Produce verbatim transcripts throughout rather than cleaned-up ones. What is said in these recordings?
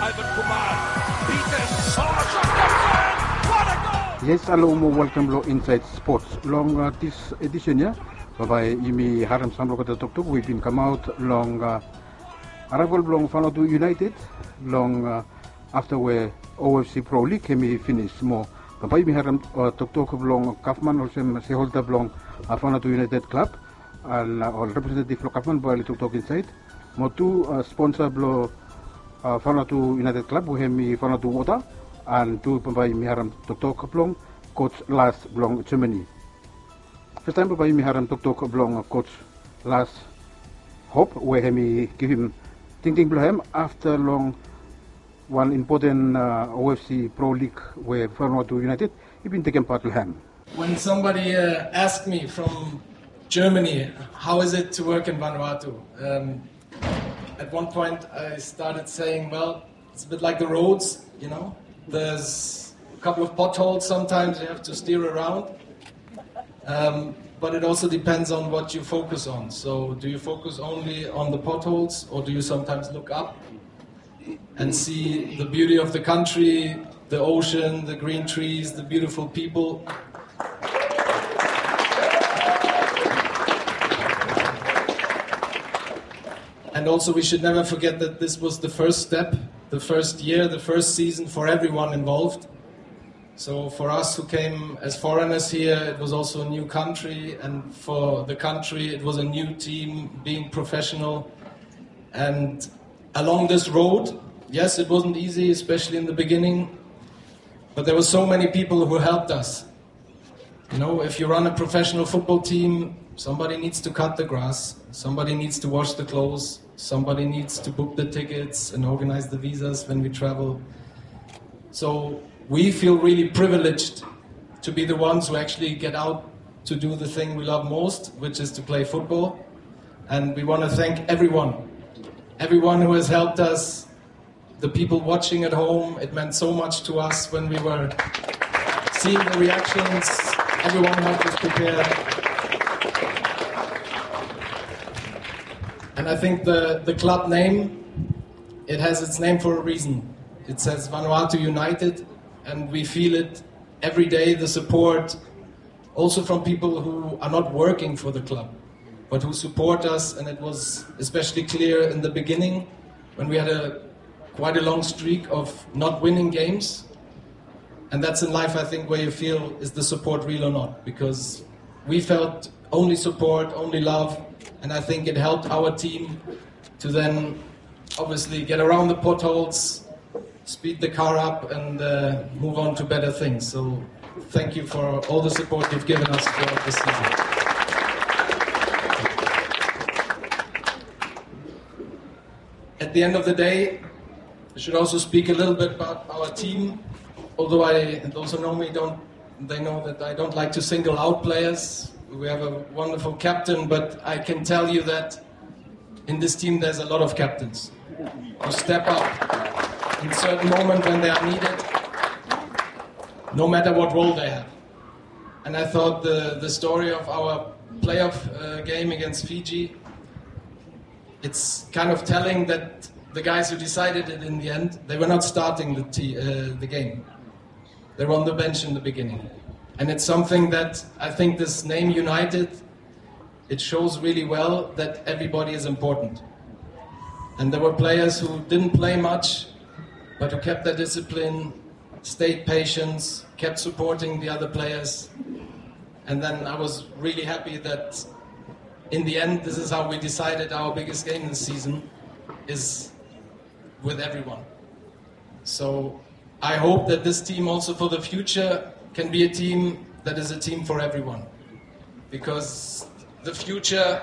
Yes, halo mo welkam long Inside Sports. Long uh, this edition ya, bambae yumi harem sam long olgeta toktok we i bin kamaot long uh, arrival blong Vanuatu United long uh, afta we O F C Pro League hemi finis. Mo bambae yumi harem uh, toktok blong gavman olsem shareholder blong uh, Vanuatu United Club. An uh, ol representative blong gavman bae oli toktok insaed. Mo tu uh, sponsor blong uh, Vanuatu United Club we hemi Vanuatu Water. An tu bambae yumi harem toktok blong coach Lars blong Germany. Fastaem bambae yumi harem toktok blong coach Lars Hop we hemi givim tingting blong hem afta long wan impoten uh, O F C Pro League we Vanuatu United i bin tekem pat long hem. When somebody uh, asked me from Germany, how is it to work in Vanuatu? Um, at one point, I started saying, well, it's a bit like the roads, you know? There's a couple of potholes sometimes you have to steer around. Um, but it also depends on what you focus on. So, do you focus only on the potholes, or do you sometimes look up and see the beauty of the country, the ocean, the green trees, the beautiful people? And also, we should never forget that this was the first step, the first year, the first season for everyone involved. So for us who came as foreigners here, it was also a new country, and for the country, it was a new team being professional. And along this road, yes, it wasn't easy, especially in the beginning, but there were so many people who helped us. You know, if you run a professional football team, somebody needs to cut the grass, somebody needs to wash the clothes, somebody needs to book the tickets and organize the visas when we travel. So we feel really privileged to be the ones who actually get out to do the thing we love most, which is to play football. And we want to thank everyone, everyone who has helped us, the people watching at home. It meant so much to us when we were seeing the reactions. Everyone helped us prepare. And I think the, the club name, it has its name for a reason. It says Vanuatu United, and we feel it every day, the support, also from people who are not working for the club, but who support us. And it was especially clear in the beginning when we had a quite a long streak of not winning games. And that's in life, I think, where you feel, is the support real or not? Because we felt only support, only love, and I think it helped our team to then obviously get around the potholes, speed the car up, and uh, move on to better things. So thank you for all the support you've given us throughout the season. At the end of the day, I should also speak a little bit about our team. Although I, those who know me don't, they know that I don't like to single out players. We have a wonderful captain, but I can tell you that in this team, there's a lot of captains who step up in certain moment when they are needed, no matter what role they have. And I thought the, the story of our playoff uh, game against Fiji, it's kind of telling that the guys who decided it in the end, they were not starting the, t- uh, the game. They were on the bench in the beginning. And it's something that I think this name United, it shows really well that everybody is important. And there were players who didn't play much, but who kept their discipline, stayed patient, kept supporting the other players. And then I was really happy that in the end, this is how we decided our biggest game this season is with everyone. So I hope that this team also for the future can be a team that is a team for everyone. Because the future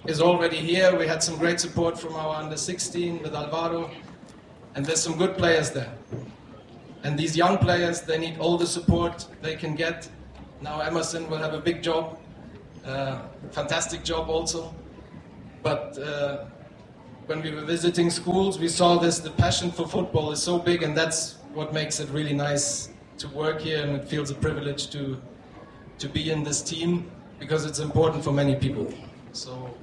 is already here. We had some great support from our under sixteen with Alvaro. And there's some good players there. And these young players, they need all the support they can get. Now Emerson will have a big job, uh, fantastic job also. But uh, when we were visiting schools, we saw this, the passion for football is so big, and that's what makes it really nice to work here, and it feels a privilege to, to be in this team because it's important for many people. So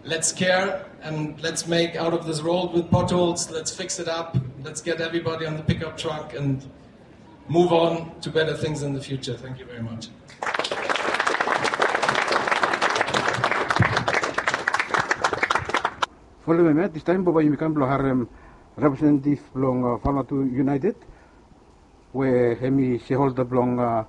Let's care and let's make out of this road with potholes. Let's fix it up. Let's get everybody on the pickup truck and move on to better things in the future. Thank you very much. Folem hemia, distaem bae yumi kam blong harem representative blong, uh, Vanuatu United, we hemi shareholder blong, uh,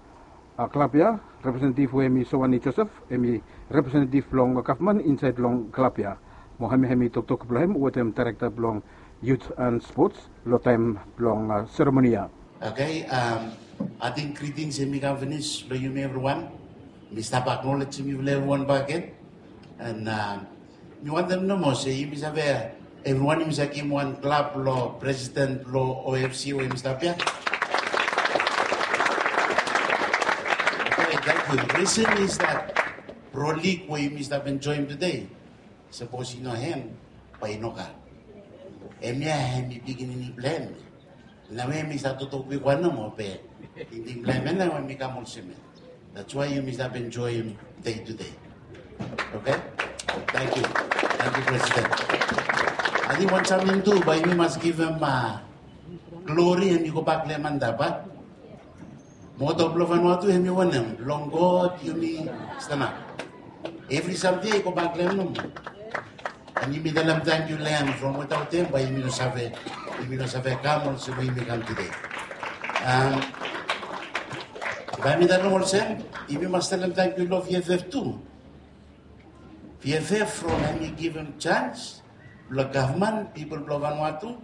uh, klab ya, representative we hemi Sowani Joseph, hemi representative blong gavman insaed long klab ya. Mo hemi, hemi toktok blong hem wetem director blong youth and sports long taem blong, uh, seremoni ya. Okay, um, ating greetings hemi kam finis long yumi evriwan. Mi stap acknowledgem yufala evriwan bakegen. And, um, mi wantem nomo se yumi save, evriwan yumi save givim wan klap long president blong O F C we yumi stap ya. Okay, thank you. Reason is that Pro League we yumi stap enjoem tede, sapos i no hem, bae i no kam. Hemia hemi pikinini blong hem. Nao we mi stap toktok kwikwan nomo be tingting blong hem nao we mi kam olsem ya. That's why yumi stap enjoem day to day. Okay? Thank you. Thank you, President. Ating wan samting tu bae yumi mas givim, uh, glory hemi gobak long hem antap, a? Moto blong Vanuatu hemi wanem? Long God yumi stanap. Evri samting ya i gobak long hem nomo. And yumi talem tangkiu long hem, from wetaot hem bae yumi no save, yumi no save kam olsem we yumi kam tede. Um, bae mi talem olsem, yumi mas talem tangkiu long V F F tu. V F F from hemi givim chance blong gavman, pipol blong Vanuatu,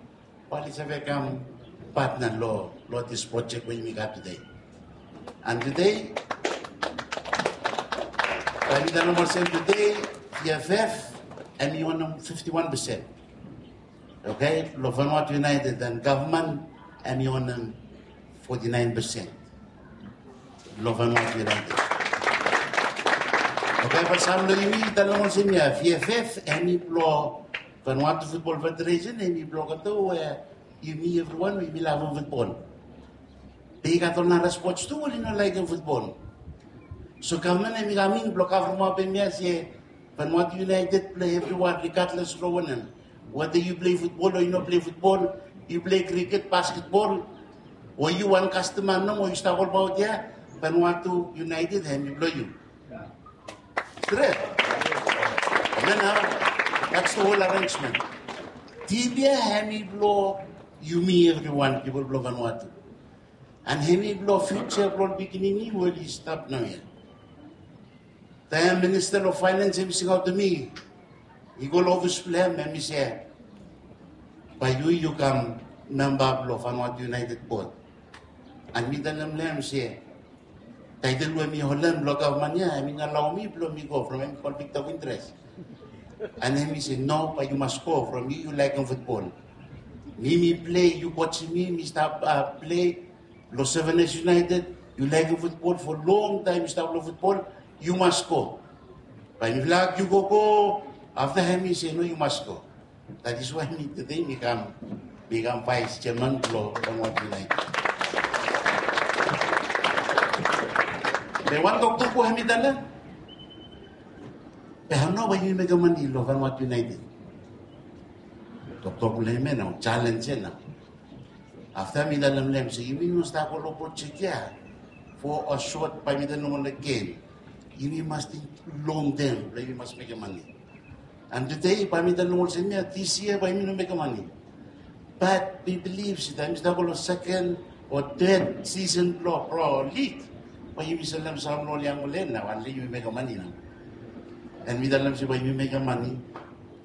bae oli save kam partner long, long this project we yumi gat tede. And tede, bae mi talem olsem tede, V F F hemi onem fifty-one percent. Okay, long Vanuatu United, and gavman hemi onem forty-nine percent. Long Vanuatu United. Okay, bae sam long yumi i talem olsem ya, V F F hemi blong Vanuatu Football Federation, hemi blong olgeta we yumi evriwan we yumi lavem futbol. Be i gat ol nara spots tu we oli no laekem futbol. So gavman hemi kam in blong kavremap hemia se Vanuatu United blong evriwan regardless long wanem. Whether yu plei futbol o yu no plei futbol, yu plei cricket, basketball, o yu wan kastoma nomo yu stap olbaot ya, Vanuatu United hemi blong yu. Stret. Nao, that's the whole arrangement. Tim ya hemi blong yumi evriwan, pipol blong Vanuatu. And hemi blong future blong ol pikinini we oli stap naoia. Taem Minista blong Finance hemi singaotem mi, i go long ofis blong hem, hemi se, bae yu, yu kam memba blong Vanuatu United Board. And mi talem long hem se, title we mi holem long gavman ya hemi no alao mi blong mi go from hemi conflict of interest. And hemi se, no, bae yu mas go from yu, yu laekem futbol. Mi, mi plei, yu kosem mi, mi stap, uh, plei long Seven Hills United, yu laekem futbol for long taem, yu stap long futbol, yu mas go. Bae mifala agiu gogo, afta hemi se, no, yu mas go. That is why mi tede mi kam, mi kam vice chairman blong Vanuatu United. Be wan toktok we hemi talem, be hao nao bae yumi mekem mane long Vanuatu United? Toktok blong hem ya nao, challenge ya nao. Afta mi talem long hem se yumi no stap go long project ya for a short, bae mi talem, long wan game. Yumi mas ting long term blong yumi mas mekem mane. And tede bae mi talem olsem ya, this year bae yumi no mekem mane. But mi bilif se taem yumi stap go long second o third season blong Pro League, bae yumi selem sam long ol yangfala ya nao, and yumi mekem mane nao. And mi talem se bae yumi mekem mane.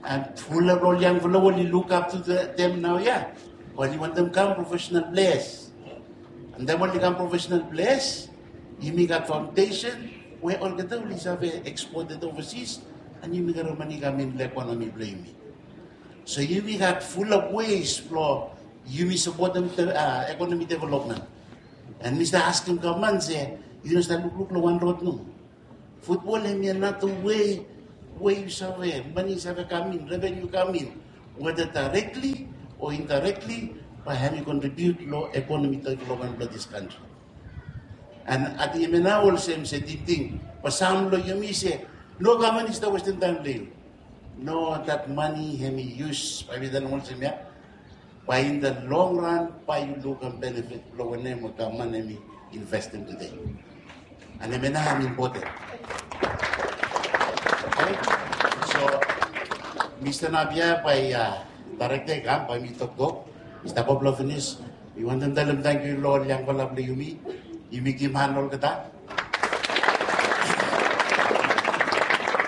And fulap long ol yangfala we oli look up to the, them naoia, oli wantem kam professional players. And taem oli kam professional players, yumi gat foundation we olgeta oli save exported overseas, and yumi gat ol mane i kam in long economy blong yumi. So yumi gat fulap ways blong yumi sapotem the, uh, economy development. And mi stap askem gavman se, yu no stap lukluk long wan rod nomo. Futbol hemi another way we yu save, mane i save kam in, revenue kam in, whether directly o indirectly, bae hemi contribute long economy development blong this country. And ating hemia nao olsem se tingting, bae sam long yumi se, no gavman i stap westem taem blong yu. No, that money hemi yus, bae mi talem olsem ia, bae in the long run bae yu lukim benefit blong wanem we gavman hemi investem tede. And hemia nao hemi impoten. Okay? So mi stanap ia bae, a, daerekta i kam bae mi toktok. Mi stap go blong finis. Mi wantem talem tangkiu long ol yangfala blong yumi. Yumi givim han olgeta.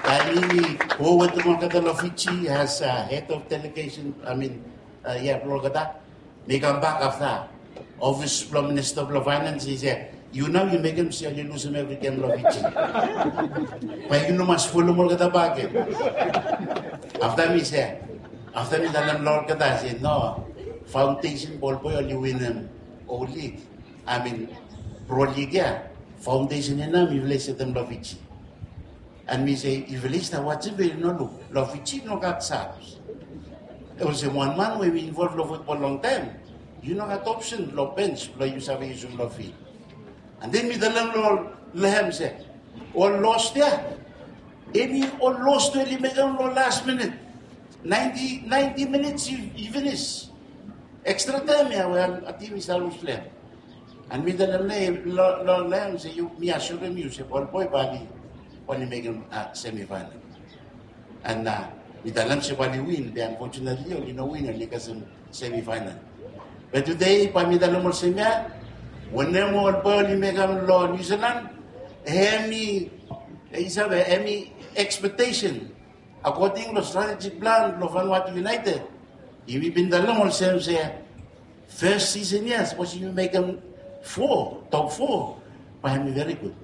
Taem yumi go wetem olgeta long Fiji as, a, head of delegation, I mean, a, ia, blong olgeta. Mi kambak afta, ofis blong minista blong faenans i se, yu nao yu mekem se oli lusum evri gem long Fiji. Bae yu no mas folem olgeta bakegen. Afta mi se, afta mi talem long olgeta se no, faondesen blong ol boe oli winim ol lig, I mean, pro lig ia, faondesen ia nao mifala i setem long Fiji. And mi se, yufala i stap wajem be yu no luk, long Fiji no gat subs. Olsem wan man we i involv long futbol longtaem, yu no gat opsen long bench blong yu save yusum long fil. And then mi talem long, long hem se, ol los ia, hemi ol los we oli mekem long las minit. Naenti, naenti minits i, i finis. Ekstra taem ia we a, a tim i stap lus long hem. And mi talem long, long, long hem se yu, mi assurem yu se ol boe bae oli, oli mekem, a, semifinal. And, a, mi talem se bae oli win, be unfortunately oli no win, oli kasem semifinal. Be tede bae mi talem olsem ia, wanem ol boe oli mekem long New Zealand, hemi, yu save, hemi expectation according long strategic plan blong Vanuatu United. Yumi bin talem olsem se fes sisen ia sapos yumi mekem fo, top fo, bae hemi very good.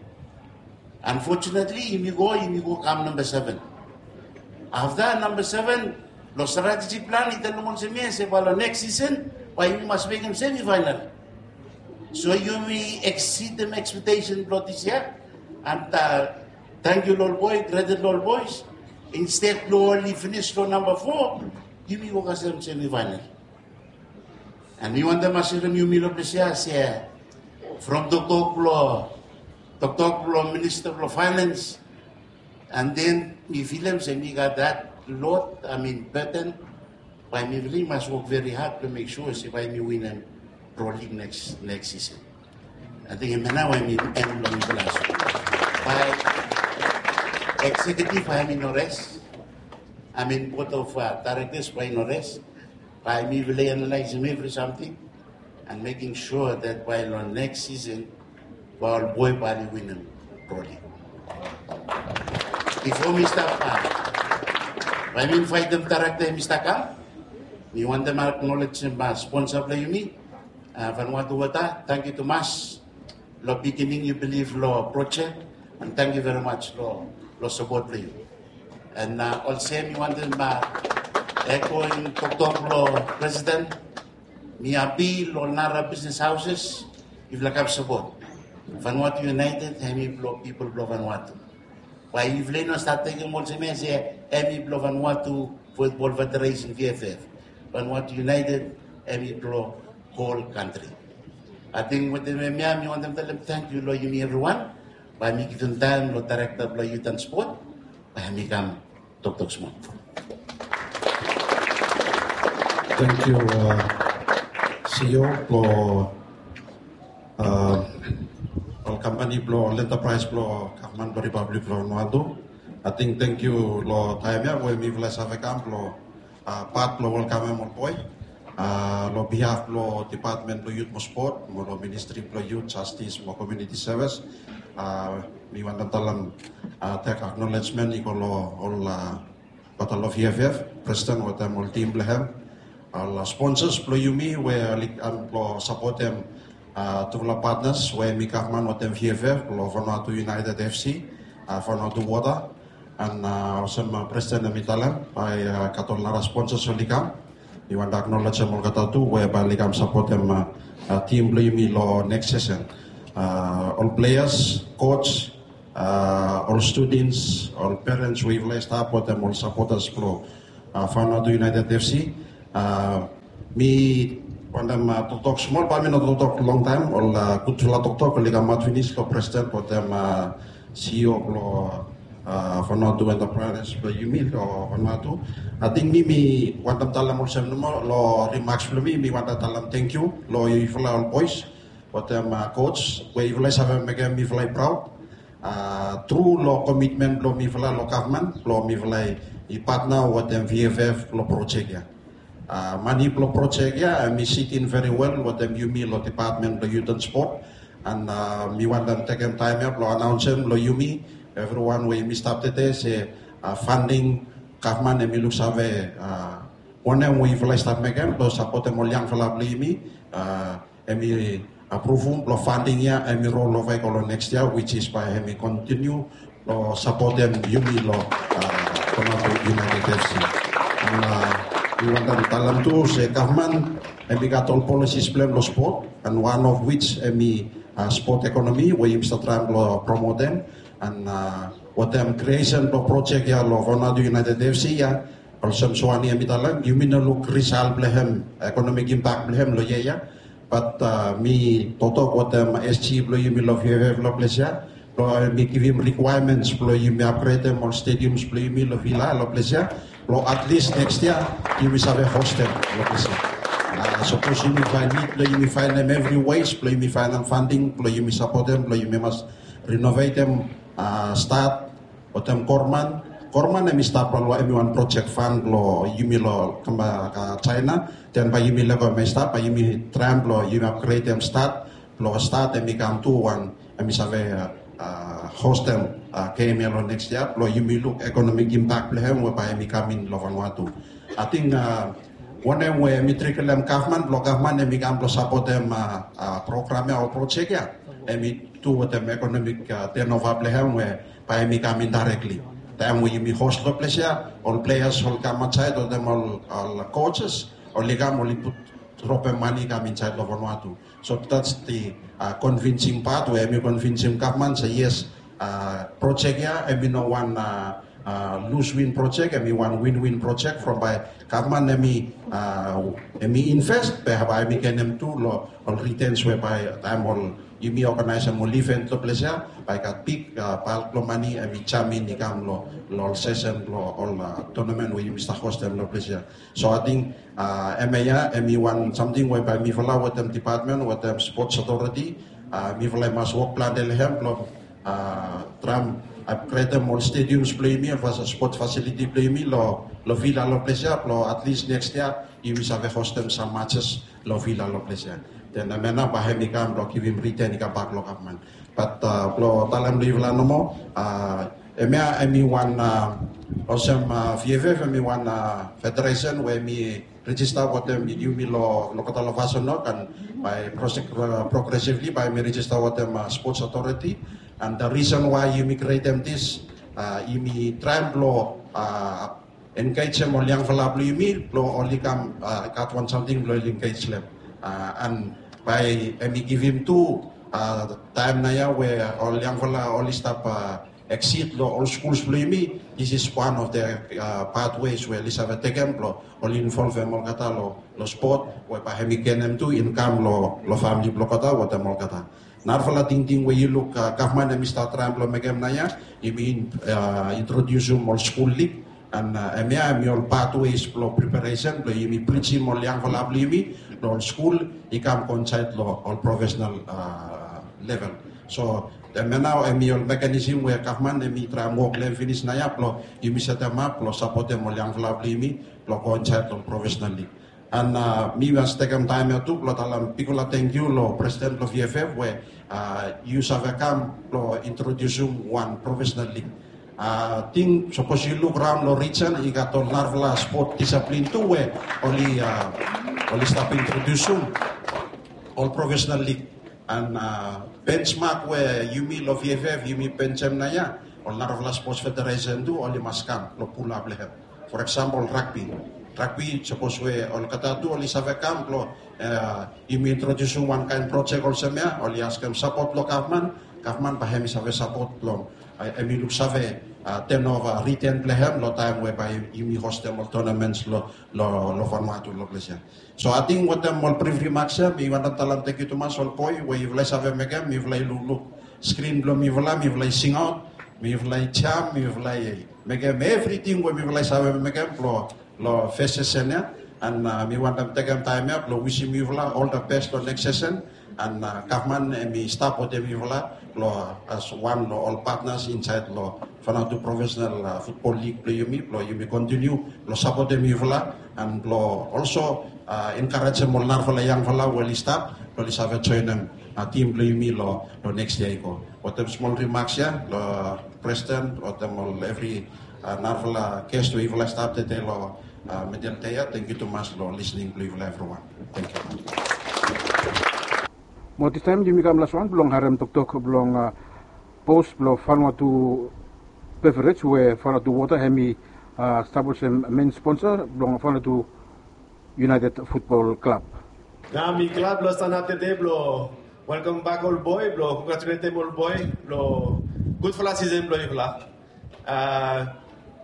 Unfortunately yumi go, yumi go kam namba seven. Afta namba seven, long strategic plan i talem olsem ia se bae long neks sisen bae yumi mas mekem semifinal. So yumi exceedem expectation blong dis yia. And, a, tangkiu long ol boe, credit long ol boes. Instead blong oli finis long namba fo, yumi go kasem semifinal. And mi wantem assurem yumi long ples ia se from toktok blong, toktok blong minista blong faenans, and then mi filem se mi gat that load, I mean, burden, bae mifala i mas wok very hard blong mek sua se bae yumi winim Pro League neks, neks sisen. Ating hemia nao bae mi en blong mifala so. Bae executive bae hemi no res. I mean, board of, a, directors bae i no res. Bae mifala i analaesem evri samting and mekem sua that bae long neks sisen bae ol boe bae oli winim Pro League. Bifo mi stap, a, bae mi invaetem daerekta hemi stap kam. Mi wantem aknolejem, a, sponsa blong yumi, a, Vanuatu Water, tangkiu tumas long beginning yu bilif long projek, and tangkiu very much long, long sapot blong yu. And, a, olsem mi wantem, a, ekoing toktok blong presiden, mi hapi long nara bisnes haoses, yufala kam sapot. Vanuatu United hemi blong pipol blong Vanuatu. Bae yufala i no stap tekem olsem ia se hemi blong Vanuatu Futbol Federesen, V F F. Vanuatu United hemi blong hol kantri. Ating wetem hemia mi wantem talem tangkiu long yumi evriwan. Bae mi givim taem long daerekta blong yut and spot bae hemi kam toktok smol. Tangkiu, a, CEO blong, a, ol kampani blong ol enterpraes blong gavman blong Ripablik blong Vanuatu. Ating tangkiu long taem ia we mifala i save kam blong, a, pat blong welkamem ol boe, a, long bihaf blong Dipatmen blong Yut mo Spot mo long Ministri blong Yut, Jastis mo Komuniti Sevis. A, mi wantem talem, a, tek aknolejmen i go long ol, a, Battle of V F F, presiden wetem ol tim blong hem, ol sponsas blong yumi we oli kam blong sapotem, a, tufala patnas we hemi gavman wetem V F F, long Vanuatu United F C, a, Vanuatu Water, and, a, olsem, a, presiden hemi talem bae, a, gat ol nara sponsas oli kam. Mi wantem aknolejem olgeta tu we bae oli kam sapotem, a, a, tim blong yumi long neks sisen. A, ol pleas, koj, a, ol studens, ol perens we yufala i stap wetem ol sapotas blong, a, Vanuatu United F C. A, mi wantem, a, toktok smol, bae mi no toktok longtaem. Ol, a, gudfala toktok oli kamaot finis long presiden wetem, a, CEO blong, Vanuatu Enterprise blong yumi long Vanuatu. Ating mi mi wantem talem olsem nomo long rimaks blong mi, mi wantem talem tangkiu long yufala ol bois wetem coach we yufala i save mekem mifala i praod tru long komitmen blong mifala long gavman blong mifala i patna wetem VFF long projek ya. Mani blong projek ya em i sitin veri wel wetem yumi long depatmen blong yut an spot. An mi wantem tekem taem ya blong anaonsem long yumi evriwan we yumi stap tede se, fanding gavman em i luksave wanem we yufala i stap mekem blong sapotem ol yangfala blong yumi, em i apruvum blong fanding ya em i rol ova i go long neks yia, wis is bae em i kontiniu blong sapotem yumi long Vanuatu United FC. An mi wantem talem tu se gavman em i gat ol polisis blong em long spot, an wan of wis em i spot ekonomi we yumi stap traem blong promotem. An wetem kriesen blong projek ya long Vanuatu United FC ya, olsem Suani em i talem, yumi no luk risal blong em, ekonomik impak blong em long yia ya. Bat mi toktok wetem SG blong yumi long VFF long ples ya blong mi givim rikwaemens blong yumi apgredem ol stediums blong yumi long vila long ples ya, blong atlis neks yia yumi save hostem long ples ya. Sapos yumi faen nid blong yumi faenem evri wes blong yumi faenem fanding blong yumi sapotem blong yumi mas renovetem stat wetem Gorman. Gorman em i stap long em i wan projek fan blong yumi long Jaena. Den bae yumi lego em i stap, bae yumi traem blong yumi apgredem stat blong stat em i kam tu wan em i save hostem gem ya long neks yia blong yumi luk ekonomik impak blong em we bae em i kam in long Vanuatu. Ating wanem we em i trikelem gavman blong gavman em i kam blong sapotem program ya o projek ya, em i tu wetem ekonomik tenova blong em we bae em i kam indirekli. Taem we yumi hos long ples ya, ol pleas ol kam aotsaed wetem ol coaches oli kam oli put dropem mani i kam insaed long Vanuatu. So that's the convincing part we em i convincem gavman se yes, projek ya em i no wan lus win projek, em i wan win win projek from bae gavman em i invest be bae em i genem tu long ol ritens we bae taem ol yumi oganaesem ol iven long ples ya bae i gat big balk blong mani em i jamin i kam long ol sesen blong ol tonamen we yumi stap hostem long ples ya. So ating hemia ya em i wan samting we bae mifala wetem depatmen wetem spots otoriti mifala i mas wok plante long hem blong traem apgredem ol stediums blong yumi, ol spots fasiliti blong yumi long vila long ples ya blong atlis neks yia yumi save hostem sam matses long vila long ples ya. Den hemia nao bae hem i kam blong givim riten i kambak long gavman. Bat blong talem long yufala nomo, hemia em i wan olsem VFF em i wan federesen we em i rejista wetem yumi long olgeta long Vasunok an bae progresivli bae em i rejista wetem spots otoriti. An the reason why yumi krietem dis, yumi traem blong engejem ol yangfala blong yumi blong oli kam gat wan samting blong oli engejem. An bae em i givim tu taem nao ya we ol yangfala oli stap eksid long ol skuls blong yumi, this is one of the pathways we oli save tekem blong oli involvem olgeta long spot we bae em i genem tu inkam long famili blong olgeta wetem olgeta. Narafala tingting we yu luk gavman em i stap traem blong mekem nao ya, yumi introdiusum ol skul lig. An hemia em i ol pathways blong preparesen blong yumi plijim ol yangfala blong yumi long ol skul i kam go insaed long ol profesenal level. So hemia nao em i ol mekanism we gavman em i traem wok long hem finis nao ya blong yumi setemap blong sapotem ol yangfala blong yumi blong go insaed long profesenal lig. An mi mas tekem taem ya tu blong talem bigfala tangkiu long presiden blong VFF we yu save kam blong introdiusum wan profesenal lig. Ating sapos yu luk raon long rijen i gat ol narafala spot disaplin tu we oli stap introdiusum ol profesenal lig. An bensmak we yumi long VFF yumi benjem nao ya, ol narafala spots federesen tu oli mas kam blong pulap long hem. For example ragbi. Ragbi sapos we olgeta tu oli save kam blong yumi introdiusum wan kaen projek olsem ya, oli askem sapot long gavman. Gavman bae hem i save sapot blong em i luksave tenova riten blong hem long taem we bae yumi hostem ol tonaments long Vanuatu long ples ya. So ating wetem ol brif rimaks ya mi wantem talem tangkiu tumas ol boe we yufala i save mekem, mifala i lukluk skrin blong mifala, mifala i singaot. Mifala i jam, mifala i mekem evriting we mifala i save mekem blo, lo fes sesen ya. And, a, mi wantem tekem taem ya blo wisim yufala ol the best lo neks sesen. And, a, gavman hemi stap wetem yufala lo, a, as wan lo ol patnas insaed lo Vanuatu Professional, a, Futbol Lig blo yumi, blo yumi kontiniu blo sapotem yufala and blo olso, a, enkarejem ol narafala yangfala we oli stap blo oli save joenem, a, tim blo yumi lo, lo neks yia i go. Wetem smol rimaks ya lo presiden, wetem ol evri, a, narafala ges we yufala i stap tede lo, a, middle dei ya. Tangkiu tumas lo lisening blo yufala evriwan. Tangkiu. Mo distaem yumi kam las wan blong harem toktok blong, a, bos blong Vanuatu Beverage we Vanuatu Water hemi, a, stap olsem men sponsa blong Vanuatu United Futbol Klab. Nao mi glad blong stanap tede blong welkamem bak ol boe, blong kongratuletem ol boe blong gudfala sisen blong yufala. A,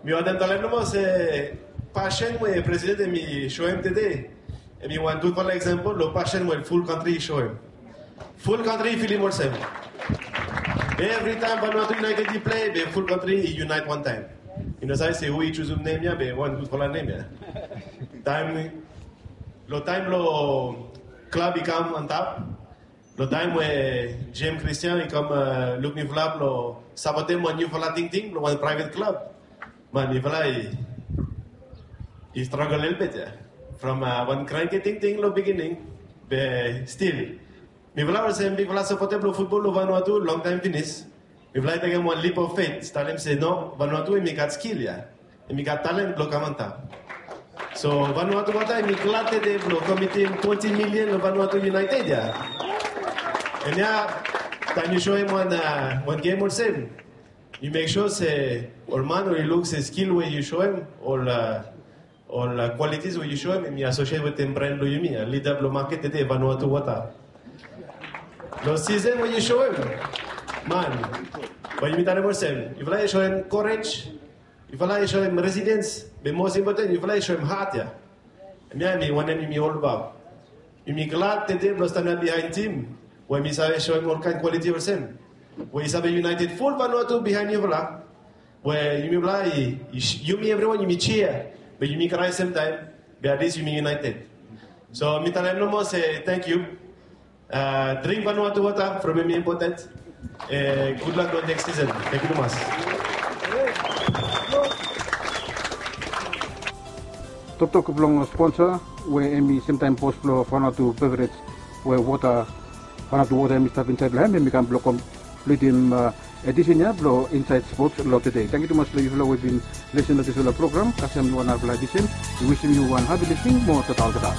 mi wantem talem nomo se pasen we presiden hemi soem tede hemi wan gudfala eksampol lo pasen we ful kantri i soem. Ful kantri i filim olsem. Be evritaem Vanuatu United i plei, be ful kantri i yunaet wantaem. I no save se hu i jusum nem ya, be wan gudfala nem ya. Taem, lo taem lo klab i kam antap, lo taem we James Christian i kam, a, luk niufala blo sapotem wan niufala tingting blo wan praevet klab. Man, mifala i, i stragel lelebet ya. From, a, wan kranki tingting lo beginning, be stil mifala olsem mifala sapotem lo futbol lo Vanuatu longtaem finis. Mifala i tekem wan leap of faith, talem se no, Vanuatu hemi gat skil ya. Hemi gat talen blo kam antap. So Vanuatu Water hemi glad tede blo komitim twenti milian lo Vanuatu United ya. Hemia, taem yu soem wan, a, wan gem olsem, yu mek sua se ol man oli luk se skil we yu soem, ol, a, ol, a, kwalitis we yu soem, hemi asosiet wetem bren blo yumi, a, lida blo maket tede, Vanuatu Water. Lo sisen we yu soem, man, bae yumi talem olsem, yufala i soem korej, yufala i soem resilens, be mos impoten, yufala i soem hat ya. Hemia hemi wanem yumi olbaot. Yumi glad tede blo stanap biaen tim we hemi save soem olkaen kwaliti olsem, we i save yunaeted ful Vanuatu biaen yufala. We yumifala i, i, yumi evriwan yumi jia, be yumi krae semtaem, be at least yumi yunaeted. So mi talem nomo se tangkiu. A, dring Vanuatu Water from hemi impoten. E, gudlak lo neks sisen. Tangkiu tumas. Toktok blong sponsa we hemi semtaem bos blo Vanuatu Beverage we Water, Vanuatu Water hemi stap insaed lo hem, hemi kam blo kompletem, a, edisen ya blo Insaed Spots lo tede. Tangkiu tumas lo yufala we i bin lesen lo disfala program. Kasem lo wan narafala edisen. Mi wisim yu wan hapi lisening mo tata olgeta.